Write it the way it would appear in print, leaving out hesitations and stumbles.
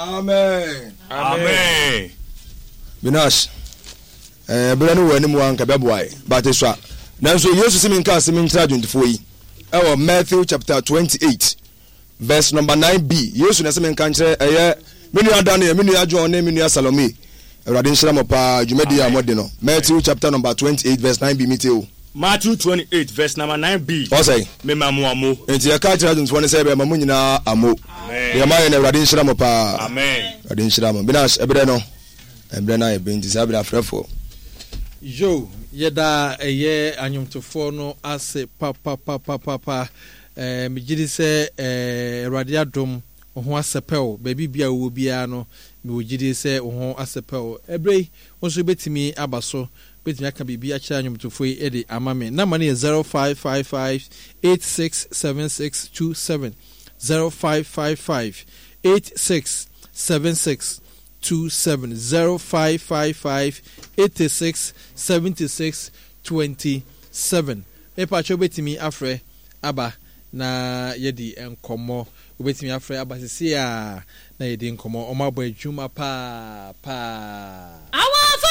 Amen. Amen. Binash, eh, berɛ no wɔ anim a nka bɛboa yɛ, but esua. Nanso Yesu se menka asɛm nkyerɛ adwontofoɔ yi ɛwɔ Matthew chapter 28 verse number 9b. Yesu na ɛsɛ menka nkyerɛ ɛyɛ me nua Daniel, me nua John ne me nua Salome. Awurade nhyira mo paa dwumadi a mode no. Matthew chapter number 28 verse 9b mete o. Matthew 28 verse number 9b. Ɔsɛe. Mema mo amo. Enti yɛka kyerɛ adwontofoɔ no sɛ yɛbɛma mo nyinaa amo. Deɛ moayɛ no Awurade nhyira mo paa. Amen. Awurade nhyira mo. Binas, ɛberɛ no, ɛberɛ no ayɛ bɛ nti saa berɛ afrɛfoɔ. Yo, yɛda ɛyɛ anwomtofoɔ no ase papapapapa. Eh, megye di sɛ eh, Awurade adom, wo ho asɛpɛw. Baabi bia wowɔ biara no, mewɔ gyidie sɛ wo ho asɛpɛw. Ɛberɛ yi, wo nso wobɛtumi aba so, wobɛtumi aka biribi akyerɛ anwomtofoɔ yi de ama me. Namba no yɛ 0555 867627. 0555 86 76 27 0555 86 76 27 Mepakyɛ wobɛtumi afrɛ aba na yɛadi nkɔmmɔ. Wobɛtumi afrɛ aba seesei a na yɛdi nkɔmmɔ. Wɔabɔ adwuma paa paa. Awofo.